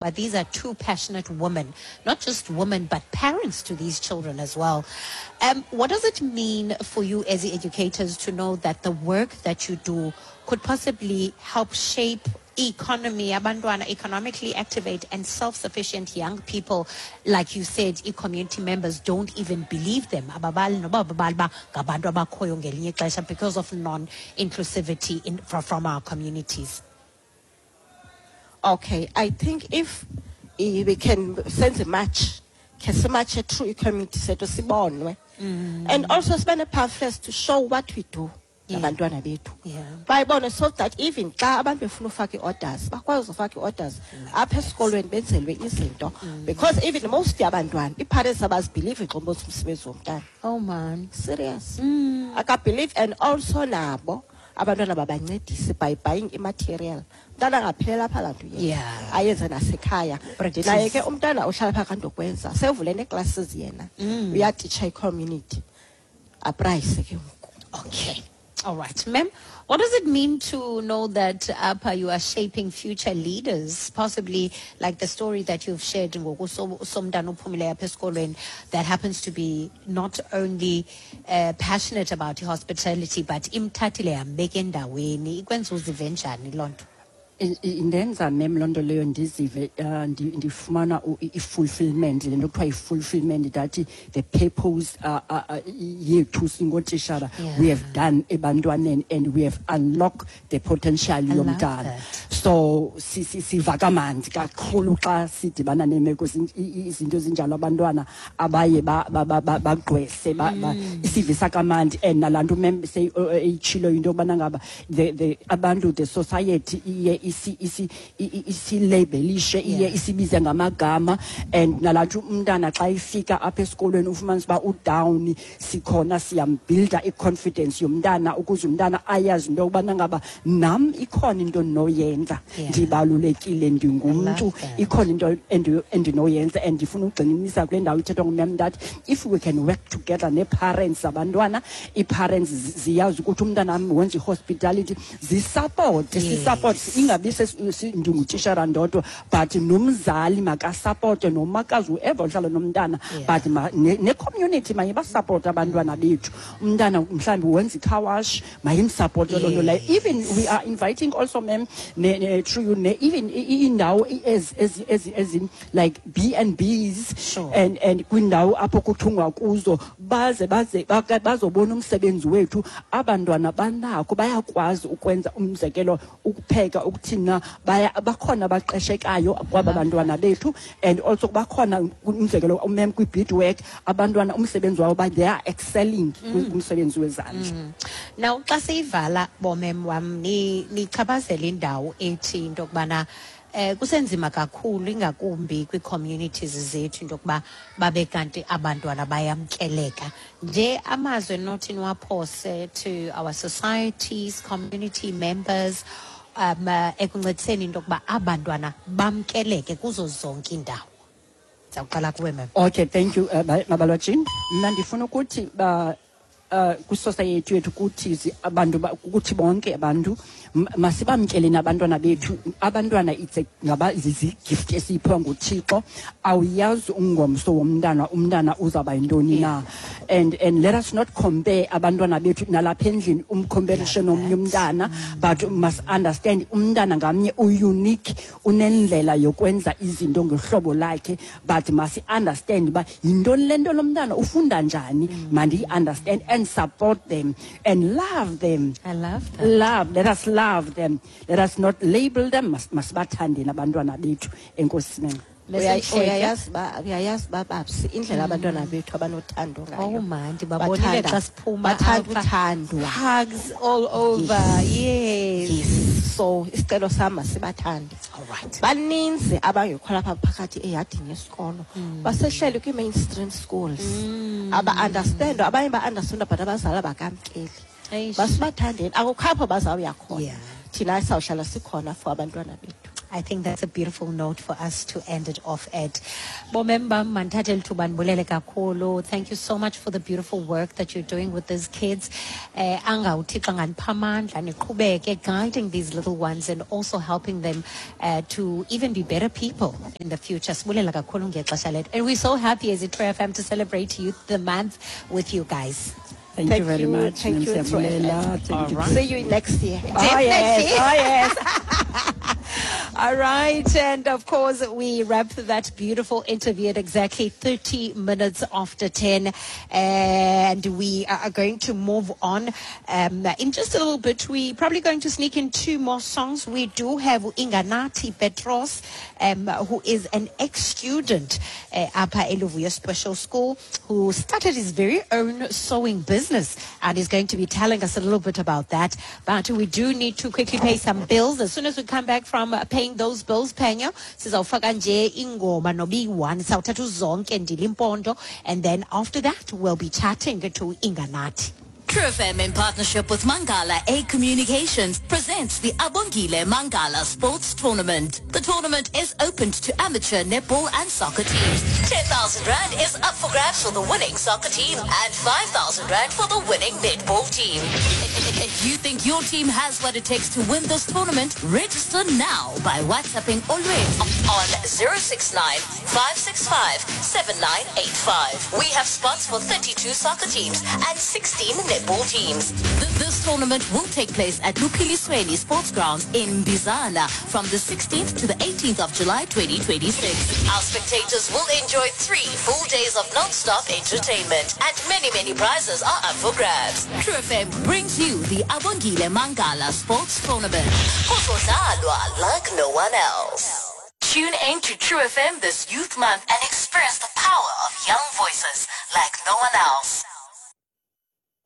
But these are two passionate women, not just women, but parents to these children as well. What does it mean for you as the educators to know that the work that you do could possibly help shape economy, abantwana, economically activate and self-sufficient young people? Like you said, i-community members don't even believe them. Ababali noba ababali ba ngabantu abakhoyo ngelinye ixesha because of non-inclusivity from our communities. Okay, I think if we can senze a march, ke simatshe through i-community sethu sibonwe. And also sibe ne-pamphlets to show what we do nabantwana bethu. Bayibone so that even xa abantu befuna ufaka ii-orders, bakwazi ufaka ii-orders apha esikolweni benzelwe izinto. Because even most yabantwana, ii-parents abazibhilivi xa umbonisa umsebenzi womntana. Oh man. Serious. Akabhelieve, and also nabo abantwana babancedise by buying i-material. Umntana angaphelela apha laa nto uyenza. Ayenze nasekhaya. Practice. Ndinaye ke umntana ohlala phaa kaNdokwenza, sevule nee-classes yena. Uyatitsha i-community. Aprayise ke ngoku. Okay. All right, ma'am. What does it mean to know that apha you are shaping future leaders, possibly like the story that you've shared ngoku somntana ophumileyo apha esikolweni that happens to be not only passionate about hospitality but imthathile yambeka endaweni? Ikwenza uzive njani loo nto? Indenza, ma'am, loo nto leyo ndizive ndifumana i-fulfillment, le nto kuthiwa yi-fulfillment, that the purpose yethu singootishala we have done ebantwaneni and we have unlocked the potential I love yomntana. that. So siva kamandi kakhulu xa sidibana neemeko izinto ezinjalo, abantwana abaye bagqwese, isivisa kamandi. And nalaa nto, ma'am, eyitshilo into yokubana ngaba the abantu, the society iye isilabelishe, iye isibize ngamagama. And nalaa nto umntana xa ifika apha esikolweni ufumanisa uba udown, sikhona siyambuilda i-confidence yomntana ukuze umntana ayazi into yokubana ngaba nam ikhona into endinoyenza, ndibalulekile, ndingumntu, I love that. ikhona into endinoyenza. And ndifuna ugxininisa kule ndawo ithethwa nguma'am that if we can work together nee-parents zabantwana, ii-parents ziyazi ukuthi umntana wam wenza i-hospitality, zisapote, sisupport, ingabi ndingutishara ndodwa, but nomzali makasapote, nomakazi, whoever uhlala nomntana, but ne-community mayibasapote abantwana bethu. Umntana mhlawumbi wenza i-car wash, mayimsapote loo nto leyo. Even we are inviting also, ma'am, through you, even iindawo ezi like B and Bs and kwindawo apho kuthungwa kuzo, baze bazobona umsebenzi wethu. Abantwana banako, bayakwazi ukwenza, umzekelo ukupheka, ukuthina, bakhona abaqeshekayo kwaba bantwana bethu. And also bakhona, umzekelo umem kwi-beadwork, abantwana umsebenzi wabo they are excelling kumsebenzi wezandla. Now xa siyivala, bomem wam, nichaphazela indawo ethi into yokubana kusenzima kakhulu, ingakumbi kwii-communities zethu, into yokuba babe kanti abantwana bayamkeleka. Nje amazwi enothi niwaphose to our societies, community members, ekuncediseni into yokuba abantwana bamkeleke kuzo zonke iindawo. Ndizawuqala kuwe, ma'am. Okay, thank you, Mabalwajini. Mna ndifuna ukuthi ba kwisociety yethu kuthi abantu kuthi bonke abantu masibamkeleni abantwana bethu. Abantwana it's a, ngaba zizi-gift esiyiphiwa nguThixo. Awuyazi ungomso womntana, umntana uzawuba yintoni na. And let us not compare abantwana bethu nalapha endlini, umcomparishe nomnye umntana, but must understand umntana ngamnye u-unique, unendlela yokwenza izinto ngehlobo lakhe, but must understand uba yintoni le nto lo mntana ufunda njani, mandiyi-understand and support them and love them. I love that. Love, let us love them. Let us not label them. Masibathandeni abantwana bethu. Enkosi, ma'am. Bese Uyayazi ba babsi indlela abantwana bethu abanothando ngayo. Oh man, ndibabonile xa siphuma Bathanda apha. uthandwa. Hugs all over. Yes. Yes. So isicelo sami, masibathande. All right. Baninzi abangekho lapha phakathi eyadini yesikolo. Basehleli kwi-mainstream schools. Aba-understand, abanye ba-understand, but abazali abakamkeli. Eish. Masibathandeni. Akukho apho bazawuya khona. Yeah. Thina sawuhlala sikhona for abantwana bethu. I think that's a beautiful note for us to end it off at. Bomemba mandithathe eli thuba ndibulele kakhulu. Thank you so much for the beautiful work that you're doing with these kids. Anga uThixo anganipha amandla niqhubeke guiding these little ones and also helping them to even be better people in the future. Sibulela kakhulu ngexesha lethu. And we're so happy as iTru FM to celebrate Youth the Month with you guys. Thank you very much. Thank you, True Siyabulela. FM. Thank you. All right. See you next year. Oh, yes. Definitely. Oh, yes. All right. And of course, we wrap that beautiful interview at exactly 30 minutes after 10. And we are going to move on. In just a little bit, we're probably going to sneak in two more songs. We do have Inganathi Petros, who is an ex-student apha eLuvuyo Special School, who started his very own sewing business and is going to be telling us a little bit about that. But we do need to quickly pay some bills. As soon as we come back from paying those bills, Phenyo, sizawufaka nje ingoma noba iyi-one, sawuthatha uzonke ndilimpondo, and then after that we'll be chatting to Inganathi. True FM in partnership with Mangala A Communications presents the Abongile Mangala Sports Tournament. The tournament is open to amateur netball and soccer teams. 10,000 Rand is up for grabs for the winning soccer team and 5,000 Rand for the winning netball team. If you think your team has what it takes to win this tournament, register now by WhatsApping Olwethu on 069 565 7985. We have spots for 32 soccer teams and 16 netball teams. This tournament will take place at Luphilisweni Sports Grounds in Bizana from the 16th to the 18th of July 2026. Our spectators will enjoy 3 full days of non-stop entertainment, and many, many prizes are up for grabs. True FM brings you the Abongile Mangala Sports Tournament. Kuzodlalwa like no one else. Tune in to True FM this Youth Month and experience the power of young voices like no one else.